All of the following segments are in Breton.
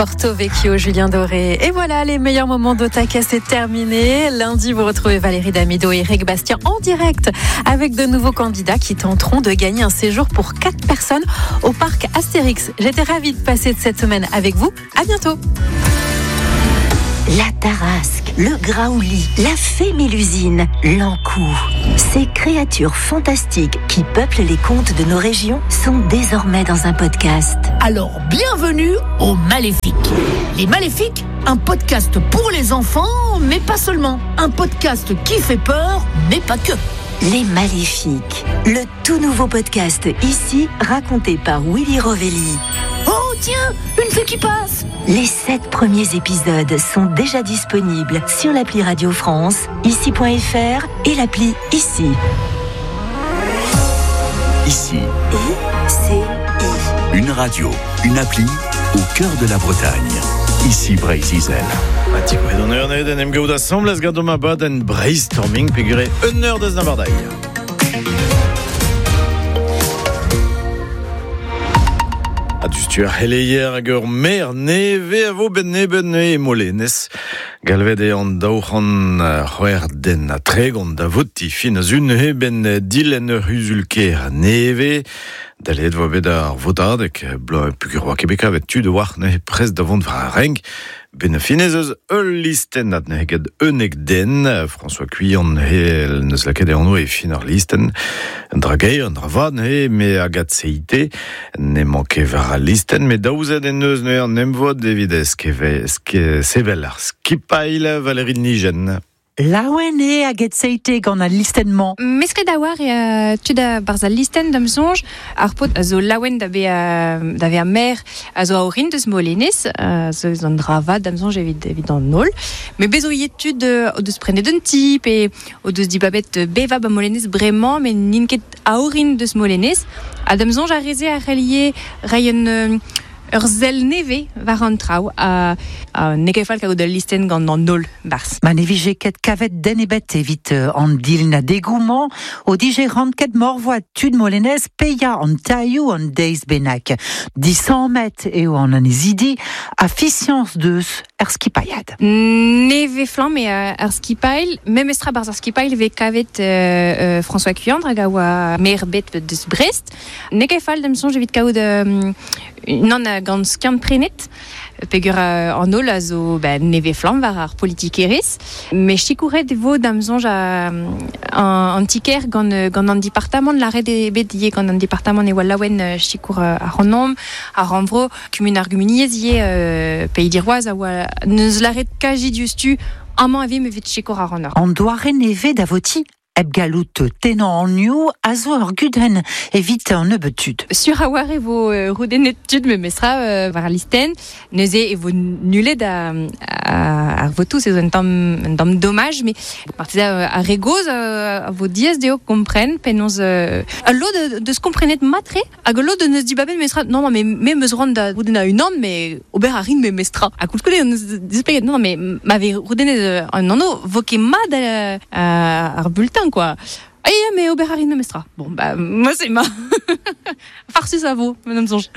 Porto Vecchio, Julien Doré. Et voilà, les meilleurs moments d'Otaka, c'est terminé. Lundi, vous retrouvez Valérie Damido et Eric Bastien en direct avec de nouveaux candidats qui tenteront de gagner un séjour pour 4 personnes au parc Astérix. J'étais ravie de passer cette semaine avec vous. À bientôt. La Tarasque, le Graouli, la Fée Mélusine, l'Ankou. Ces créatures fantastiques qui peuplent les contes de nos régions sont désormais dans un podcast. Alors, bienvenue aux Maléfiques. Les Maléfiques, un podcast pour les enfants, mais pas seulement. Un podcast qui fait peur, mais pas que. Les Maléfiques, le tout nouveau podcast ici, raconté par Willy Rovelli. Oh tiens, une fée qui passe. Les 7 premiers épisodes sont déjà disponibles sur l'appli Radio France, ici.fr et l'appli Ici. Ici. I C I. Une radio, une appli au cœur de la Bretagne. Ici Breizh-Izel. Ti gouet an eur en em gaout asambles gant ma bad en brainstorming pegure un eur deus nabardaï. A dustu ar heleier hag ur mer neve a vo ben neben e molenez. Galvet e an daouc'hant c'hwec'h den ha tregont da voti fin a zun he ben dilen ur huzulker neve. Dalet vo bet ar votadeg, blo pugur oa kebeka vet tud war ne prest da vont war ar renk. Ben finez eus ul listen at ne get unek den, François Cuillon he neus laket e anv e fin ar listen, un dra gaer, un dra vad ne, me agat seite, ne manke war al listen, me daouzet en eus ne an emvod evit eskeve, eske sevel ar skipail Valérie Nigen. Laouen e hag seite gant al listenn-mañ. Mesket a war e tud a barz al listenn da'm soñj, ar paotr a zo laouen da bezañ da vezañ maer a zo a-orin deus Molenez, zo eus an dra vat da'm soñj evit evit an holl. Met bez' zo ivez tud o deus prenet un ti pe o deus dibabet bevañ ba Molenez bremañ met n'int ket a-orin deus Molenez. Ha da'm soñj ar re-se a c'hell ivez reiñ un Ur sell nevez war an traoù ha n'eo ket fall kaout ul listenn gant an holl barzh. Ma ne vije ket kavet den ebet evit an dilennadegoù-mañ o dije ranket morvoad tud Molenez paeañ an tailhoù an deiz bennak. Disammet eo an annezidi ha fiziañs deus er skipailhad. Nevez-flamm eo ar skipailh. Memestra barzh ar skipailh e vez kavet François Cuillandre hag a oa maer bet deus Brest. N'eo ket fall da'm soñj evit kaout unan gant skiant-prenet peogwir an holl a zo ben, nevez-flamm war ar politikerezh. Met sikouret e vo da'm soñj an ti-kêr gant, gant an departamant. Lâret eo bet ivez gant an departamant e oa laouen sikour ac'hanomp, ar rannvro, kumun ar gumuniezh ivez, Pays d'Iroise a oa n'eus lâret kazi diouzhtu amañ e vimp evit sikour ac'hanoc'h. An doare nevez da votiñ Hep gallout tennañ anvioù a zo ur gudenn evit an nebeud tud. Sur a-walc'h e vo roudennet tud memestra war al listenn. Neuze e vo nullet ar votoù, se zo un tamm un tamm domaj, met marteze ar re gozh a vo diaes dezho kompren penaos ul lod deus komprenet mat-tre hag ul lod neus dibabet memestra non non mais me 'm eus c'hoant da roudennañ unan mais ober a rin memestra. Ha koulskoude on eus displeget non mais ma vez roudennet un anv vo ket mat ar bulletin quoi. Ah ya, mais ober a rin memestra. Bon, bah, moi c'est ma. Farsus a vo, ma soñj.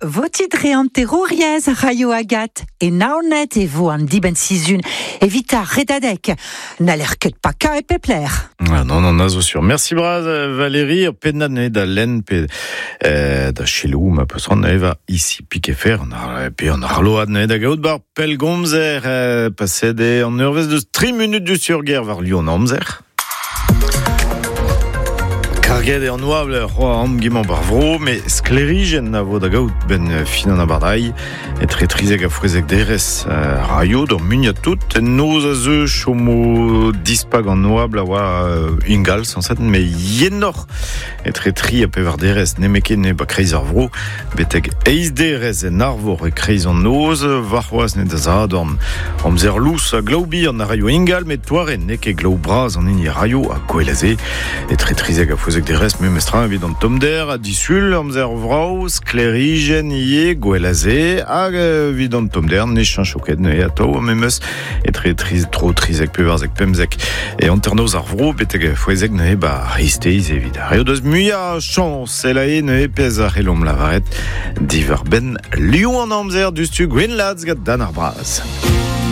Votit dre an terouriezh a raio Agat. E Naoned e vo an dibenn-sizhun evit ar redadeg. N'haller ket pakañ e pep lec'h. Ah non, non, a zo sur. Merci bras, Valérie. Ur pennad neuze da lenn pe da selaou ma peus c'hoant neuze war ici Piquefer pe an arload neuze da gaout bar pellgomzer paset eo an eurvezh deus 3 munut du surger war Lyon amzer. Karget eo an oabl c'hoa amgemañ bar vro, met sklêrijenn a vo da gaout benn fin an abardailh. Etre 13 ha 16 derez raio d'ur muiañ tout. En noz a zeu chomo dispak an oabl a oa ingal sañset, met yenoc'h etre 3 ha 4 derez nemetken e ba kreiz ar vro. Betek eizh derez en arvor e-kreiz an noz, warc'hoazh ne da Sadorn. Amzer lous ha glav bihan a raio ingal, met toare n'eo ket glav bras an hini a raio, ha gwell a se. Etre 13 ha 16 daouzek derez memestra evit an tommder ha disul amzer vrav sklêrijenn ivez gwell a se hag evit an tommder ne cheñcho ket neuze atav memes etre tri, tro 13 14 15 e hanternoz ar vro betek fouezek neuze ba c'hreisteiz evit ar re o deus muiañ chañs elae neuze pezh a c'hellomp lavaret diwar-benn liv an amzer diouzhtu Gwenn Laz gant Dan ar Braz.